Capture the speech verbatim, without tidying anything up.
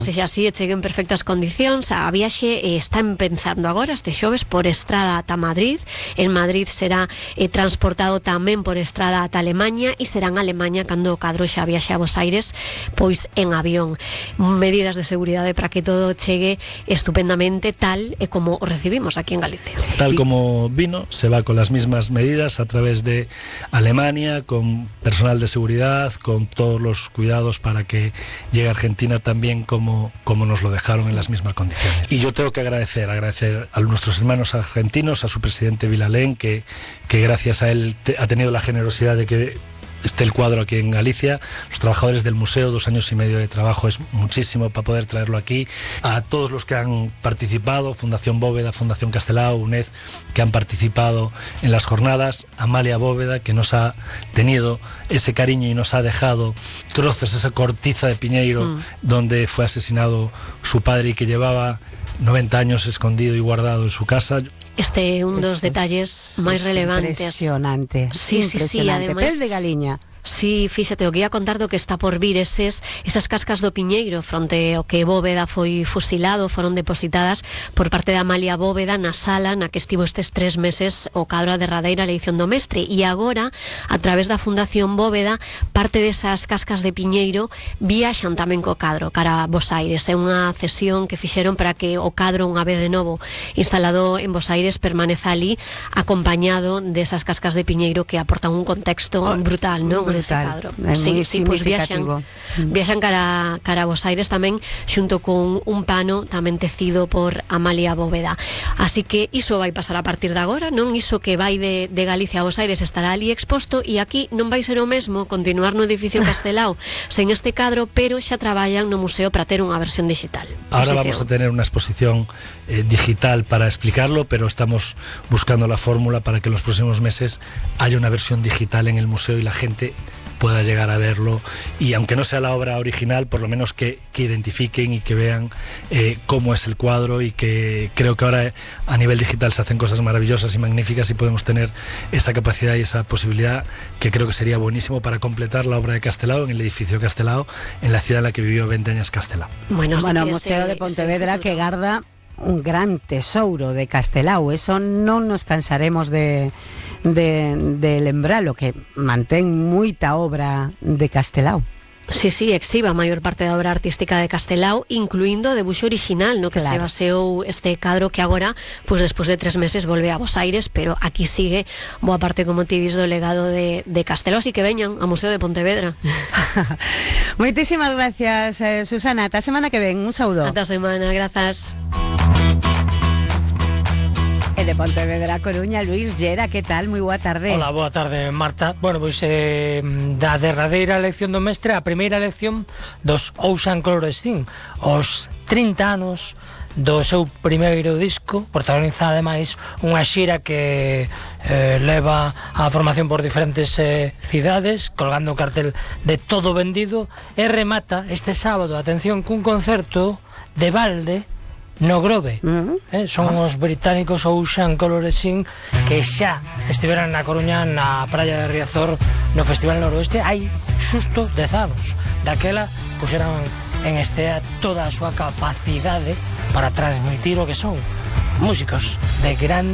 Sexa así, e chegue en perfectas condicións. A viaxe está empezando agora este xoves por estrada ata Madrid. En Madrid será eh, transportado tamén por estrada ata Alemanha e será en Alemanha cando o cadro xa viaxe a Bos Aires, pois en avión. Medidas de seguridade para que todo chegue estupendamente tal e como o recibimos aquí en Galicia. Tal como vino, se va con las mismas medidas a través de Alemania, con personal de seguridad, con todos los cuidados para que llegue a Argentina también como como nos lo dejaron en las mismas condiciones. Y yo tengo que agradecer, agradecer a nuestros hermanos argentinos, a su presidente Vilalén, que, que gracias a él te, ha tenido la generosidad de que esté el cuadro aquí en Galicia. Los trabajadores del museo, dos años y medio de trabajo es muchísimo para poder traerlo aquí. A todos los que han participado, Fundación Bóveda, Fundación Castelao, UNED, que han participado en las jornadas, Amalia Bóveda, que nos ha tenido ese cariño y nos ha dejado trozos, esa cortiza de Piñeiro, mm. donde fue asesinado su padre y que llevaba noventa años escondido y guardado en su casa. Este é un dos Eso detalles máis relevantes. Impresionante. Sí, sí, sí, ademais. Pel de galiña. Sí, fíxate, o que ia contar do que está por vir eses, esas cascas do Piñeiro fronte ao que Bóveda foi fusilado, foron depositadas por parte de Amalia Bóveda na sala na que estivo estes tres meses o cadro a derradeira eleición do mestre, e agora, a través da Fundación Bóveda, parte desas cascas de Piñeiro viaxan tamén co cadro cara a Bos Aires. É unha cesión que fixeron para que o cadro, unha vez de novo instalado en Bos Aires, permaneza ali acompañado desas cascas de Piñeiro que aportan un contexto oh, brutal, non? Ese cadro. É sí, moi sí, pues significativo. Viaxan, viaxan cara, cara a Bos Aires tamén xunto con un pano tamén tecido por Amalia Bóveda. Así que iso vai pasar a partir de agora, non? Iso que vai de, de Galicia a Bos Aires estará ali exposto, e aquí non vai ser o mesmo continuar no edificio Castelao sen este cadro, pero xa traballan no museo para ter unha versión digital. Ahora vamos a tener una exposición eh, digital para explicarlo, pero estamos buscando la fórmula para que en los próximos meses haya una versión digital en el museo y la gente pueda llegar a verlo, y aunque no sea la obra original, por lo menos que, que identifiquen y que vean eh, cómo es el cuadro, y que creo que ahora a nivel digital se hacen cosas maravillosas y magníficas y podemos tener esa capacidad y esa posibilidad que creo que sería buenísimo para completar la obra de Castelao en el edificio Castelao, en la ciudad en la que vivió veinte años Castelao. Bueno, bueno, o Museo de Pontevedra que garda un gran tesouro de Castelao, eso non nos cansaremos de de, de lembralo, que mantén moita obra de Castelao. Sí, sí, exhiba a maior parte da obra artística de Castelao, incluindo o debuxo original, no que claro. se baseou este cadro que agora, pois pues, despois de tres meses volve a Bos Aires, pero aquí sigue boa parte, como ti dis, do legado de, de Castelao, así que veñan ao Museo de Pontevedra. Moitísimas gracias, eh, Susana. Ata a semana que ven, un saúdo. Ata a semana, grazas. E de Pontevedra, Coruña, Luís Llera, que tal? Moi boa tarde. Hola, boa tarde, Marta. Bueno, pois eh, da derradeira elección do mestre, a primeira elección dos Ocean Color Steam, os trinta anos do seu primeiro disco, protagoniza ademais unha xira que eh, leva a formación por diferentes eh, cidades, colgando o cartel de todo vendido, e remata este sábado, atención, cun concerto de balde no Grove. Uh-huh. eh, son uh-huh. os británicos Ocean Color Steam, que xa estiveran na Coruña, na praia de Riazor, no Festival Noroeste hai xusto dez anos. Daquela puxeran en estea toda a súa capacidade para transmitir o que son músicos de gran